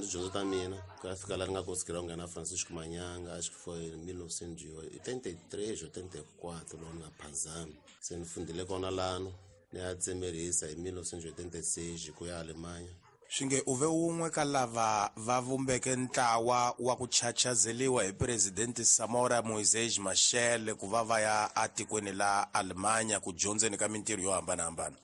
Tidyondzo ta mina ku ya fika laha ni nga konsikela ku nghena Francisco Manyanga acho que foi em 1983 ou 84 loko ni nga phazami. Se ni fundile kona lano ni ya tsemerisa hi 1986 ku ya Alemanha. Swi nge u ve wun'we ka lava va vumbeke ntlawa wa ku chachazeliwa hi Presidente Samora Moisés Machel ku va va ya atikweni la Alemanha ku dyondzeni ka mintirho yo hambanahambana.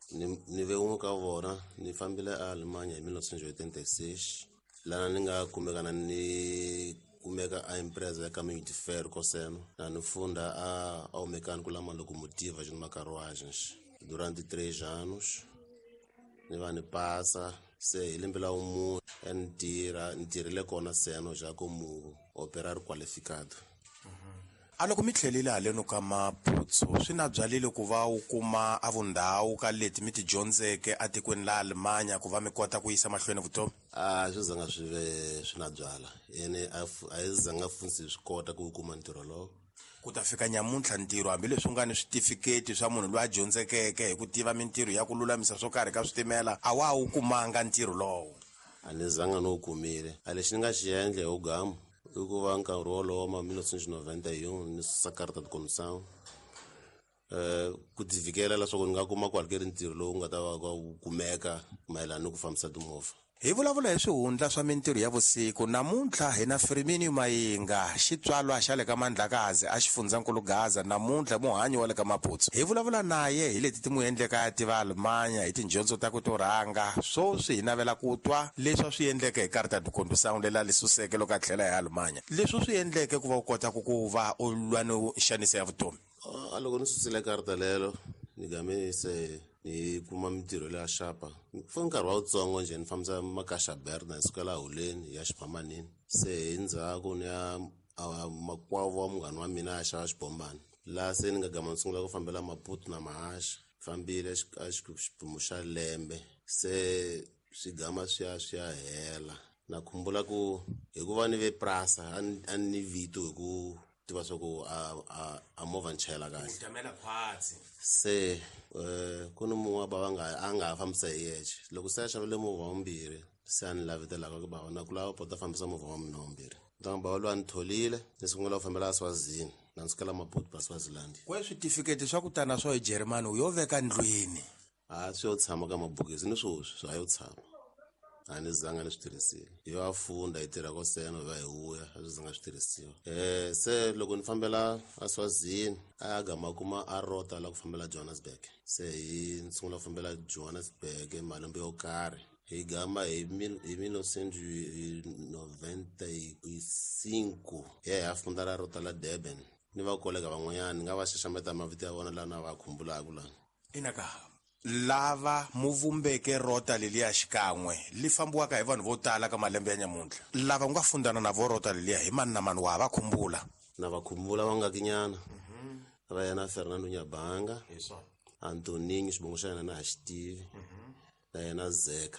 Ni ve wun'we ka vona, ni fambile aAlemanya hi 1986 lana ni nga kumeka na ni kumeka a empresa ya Caminho de Ferro Coseno na ni funda a ao mecânico lá locomotiva junto carruagens durante 3 anos. Ni va ni pasa se hi lembe la wumune ni tirha ni tirhile kona seno ja como operário qualificado. A loko mi tlhelile haleno ka Maputo swi na byalile ku va u kuma a vundhawu ka leti mi ti dyondzeke atikweni la Alemanya ku va mi kota ku yisa mahlweni vutomi? A swi zanga swi ve swi na byala ene a hi zanga funtsi swi kota ku kuma ntirho lowo. Ku ta fika nyamuntlha ntirho hambileswi u nga ni switifiketi swa munhu loyi a dyondzekeke hi ku tiva mintirho ya ku lulamisa swo karhi ka switimela a wa wu kumanga ntirho lowo. A ni zanga ni wu kumile. A lexi ni nga xi endla hi wugamu i ku va nkarhi wolowo ma 1991 ni susa carta de condução ku tivikela leswaku ni nga kuma ku hakeri ntirho lowu nga ta va wu kumeka mayelana ni ku fambisa timovha. Hi vulavula hi swihundla swa mintirho ya vusiku namuntlha hi na Firmino Mayinga, xitswalwa xa le ka Mandlakazi a xifundzankulu Gaza, namuntlha muhanyi wa le ka Maputo. Hi vulavula naye hi leti ti n'wi endleka a tiva Alemanya hi tidyondzo ta ku to rhanga. Swoswi hi navela ku twa leswi a swi endleke hi carta de condução lela li suseke loko a tlhela hi Alemanya, leswi u swi endleke ku va u kota ku ku va u lwa ni nxaniso ya vutomi. A loko ni susile karta lelo ni game se ni kuma mintirho leya xapa for nkarhi wa wutsongo njhe ni fambisa makaxa berna hi sukela holeni ya xiphamanini. Se hi ndzhaku ni ya makwavo wa munghana wa mina ya xava xibombani laha se ni nga gama ni sungula ku fambela Maputo na Mahaxa. Fambile a xiphemu xa lembe se swi gama swi ya swi ya hela. Na khumbula ku hikuva ni ve prasa a ni vito hi ku tiva swa ku a movha ni chayela kahle. Se ku ni mun'we wa bava nga a nga ha fambisa hi yexe loko se a xavile movha wa vumbirhi se a ni lavetelaka ku bava na ku lava pota fambisa movha wa mina wa vumbirhi. Ntangu bava loyi a ni tholile ni sungula ku fambela Swazini na ni sukela Maputo pa Swaziland. Kwe switifiketi swa ku tana swo hi Germany u yo veka ndlwini? A swi yo tshama ka mabokisi ni swoswi swa yo tshama. A ni zanga ni swi tirhisile. Hi va funda hi tirha ko seno hi va hi vuya a swi zanga swi tirhisiwa. Se loko ni fambela a Swazini a gama kuma a rota la ku fambela Johannesburg. Se hi ni sungula ku fambela Johannesburg malembe yo karhi. Hi gama hi hi 1995 hi ya hi ya funda la rota la Durban. Ni va kolega van'wanyana ni nga va xaxameta mavito ya vona laha na va khumbulaka laha. Inaka lava mu vumbeke rota leliya xikan'we li fambiwaka hi vanhu vo tala ka malembe ya nyamuntlha, lava u nga fundana na vo rota leliya hi mani na mani wa ha va khumbula? Na va khumbula va nga kinyana. Va yena Fernando Nyabanga, Antoninho xivongo xa yena na ha xi tivi, na yena Zeka.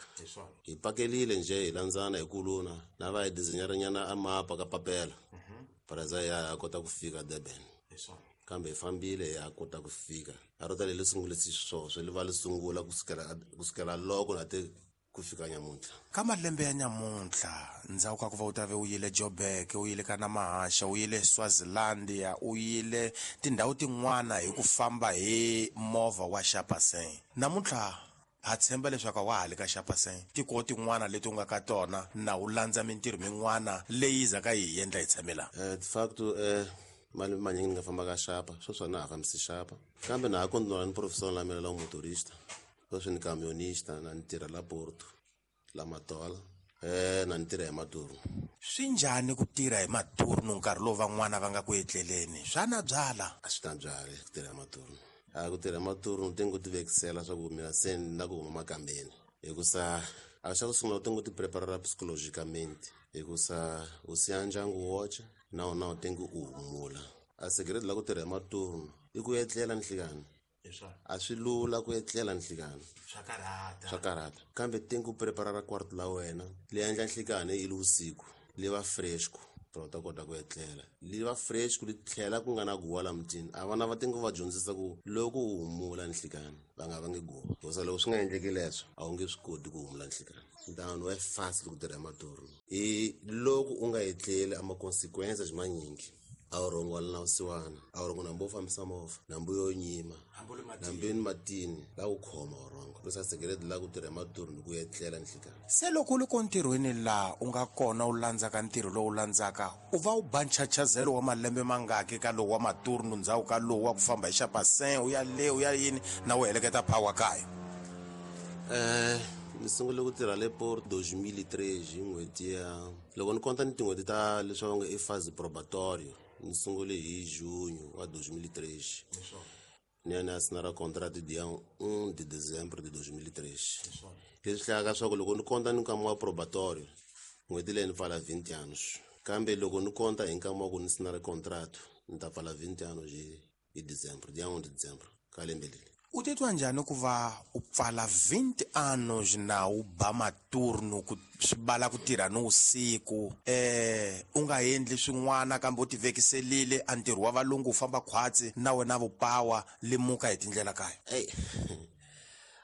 Hi pakelile njhe hi landzana hi kuluna na va hi designer-nyana a mapa ka papela. Paraza ya kota ku fika Durban. Kambe hi fambile hi ya kota ku fika. A rota leri sungule xiswoswo li va li sungula ku sukela loko na te ku fika nyamuntlha. Ka malembe ya nyamuntlha ndzhaku ka ku va u ta ve u yile Joburg, u yile ka Namahasha, u yile Swazilandia, u yile tindhawu tin'wana hi ku famba hi movha wa Xapaseng. Namuntlha ha tshemba leswaku a wa ha le ka Xapaseng, tiko tin'wana leti u nga ka tona na u landza mintirho min'wana leyi zaka yi hi endla hi tshame laha. De facto malembe manyingi ni nga famba ka Xapa, sweswi a na ha fambisi Xapa. Kambe na ha continua ni profession la mina la motorista. Sweswi ni camionista na ni tirha la Porto, la Matola. Na ni tirha hi maturnu. Swi njhani ku tirha hi maturnu nkarhi lowu van'wana va nga ku etleleni? Swa na byala? A swi na byala ku tirha hi maturnu. A ku tirha hi maturnu ti ngo ti vekisela swa ku mina se ni na ku huma makambeni. Hikusa a xa ku sungula u ti ngo ti preparela psychologicamente. Hikusa u siya ndyangu woxe na wona u ti ngo u humula. A segredo la ku tirha hi maturnu i ku etlela nhlikani. A swi lula ku etlela nhlikani. Swa karhata. Swa karhata. Kambe ti ngo preparela quarto la wena li endla nhlikani i le vusiku li va fresco. U ta kota ku etlela li va fresh ku li tlhela ku nga na guwa la mutini. A vana va tingo va dyondzisa ku loko u humula nhlikani va nga vangi guwa, hikusa loko swi nga endleki leswo a wu nge swi koti ku humula nhlikani. Ntano wa fast loko tirha maturnu hi loko u nga etleli a ma-consequences manyingi. A wu rhongola na vusiwana, a wu rhongo nambu wo fambisa movha, nambu yo nyima, nambu ni matini la ku khoma u rhongo losa sekereti la ku tirha maturnu ku etlela nhlikani. Se loko u ri ko ntirhweni laha u nga kona u landzaka ntirho lowu landzaka, u va u ba nchachazelo wa malembe mangaki ka lowu wa maturnu, ndzhaku ka lowu wa ku famba hi xapasen u ya le u ya yini na u heleketa power kaya? Ni sungule ku tirha le Port 2003 hi n'hweti ya loko ni konta ni tin'hweti ta leswi va nge i phase probatorio. Ni sungule hi junho wa 2003, ni ya ni ya sinara contract dia 1 de dezembro de 2003. Leswi hlayaka swa ku loko ni konta ni nkama wa probatorio, n'hweti leyi ni pfala 20 anos, kambe loko ni konta hi nkama wa ku ni sinara contract ni ta pfala 20 anos hi december, dia 1 de december ka lembe leri. U titwa njhani ku va u pfala 20 anos na u ba maturnu ku swi bala ku tirha ni vusiku, u nga endli swin'wana kambe u tivekiselile a ntirho wa valungu u famba khwatsi na wena vupawa limuka hi tindlela kaya? Eyi,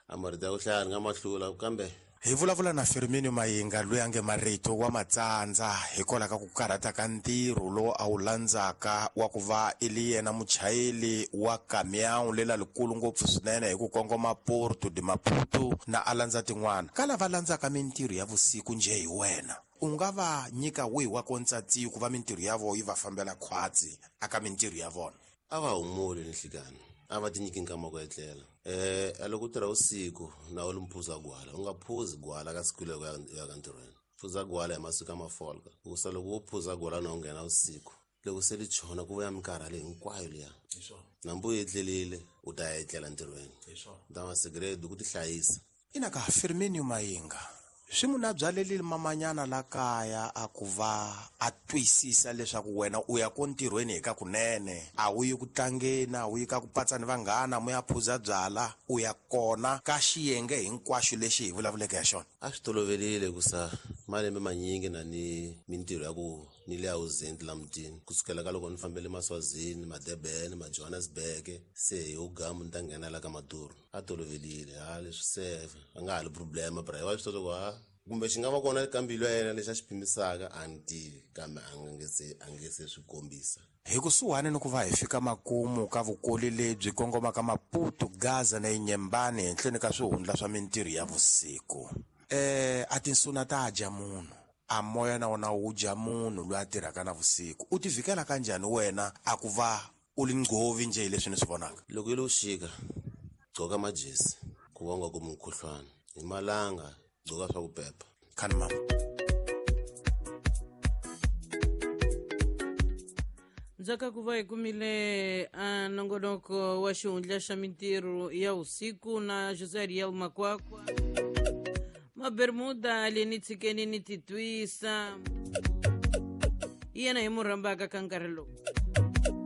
a marito ya ku hlaya ni nga ma hlula kambe. Hi vulavula na Firmino Mayinga loyi a nge marito wa matsandza hikwalaho ka ku karhata ka ntirho lowu a wu landzaka wa ku va i li yena muchayeri wa kamiyawu lela likulu ngopfu swinene hi ku kongoma Porto de Maputo na a landza tin'wana. Ka lava landzaka mintirho ya vusiku njhe hi wena, u nga va nyika wihi wa kontsatsiyo ku va mintirho ya vona yi va fambela khwatsi aka mintirho ya vona? A va humuli nhlikani, a va tinyiki nkama ku etlela. A loko u tirha vusiku na u li mphuza gwala, u nga phuzi gwala ka siku loko ya ka ntirhweni. Phuza gwala hi masiku ya mafolka, hikusa loko wo phuza gwala na u nghena vusiku, loko se li chona ku vuya minkarhi leyi hinkwayo liya, nambu u etlelile u ta ya etlela ntirhweni. Ta ma sigredi ku tihlayisa. Ina ka Firmino Mayinga swi munhu a byalelile mamanyana la kaya a ku va a twisisa leswaku wena u ya ko ntirhweni hi ka kunene, a wu yi ku tlangeni, a wu yi ka ku patsa ni vanghana mu ya phuza byala, u ya kona ka xiyenge hinkwaxo lexi hi vulavuleke ya xona. A swi tolovelile ku sa malembe manyingi na ni mintirho ya ku ni le ausent la mutini, kusukela ka loko ni fambele Maswazini, Madebene, Majohannesburg, se hi ugamu ni ta nghena la ka Maduro. A tolovelile ha leswi se a nga ha li problema, bra wa swi tiva ku ha kumbe xi nga va kona ka mbilu ya yena lexi a xi pimisaka, a ni tivi, kambe a nge se swi kombisa. Hi kusuhani ni ku va hi fika makumu ka vukoli lebyi kongomaka Maputo, Gaza na Inyembani henhleni ka swihundla swa mintirho ya vusiku. A tinsuna ta dya munhu, a moya na wona wu dya munhu loyi a tirhaka na vusiku. U tivikela kanjhani wena a ku va u li nghovi njhe hi leswi ni swi vonaka? Loko yi lo xika, gqoka majezi ku va u nga kumi mukhuhlwana, hi malanga gqoka swa ku pepa. Khani mama. Ndzhaku ku va hi kumile a nongonoko wa xihundla xa mintirho ya vusiku na José Ariel Makwakwa, Mabermuda le ni tshikeni ni titwisa, hi yena hi mu rhambaka ka nkarhi lowu.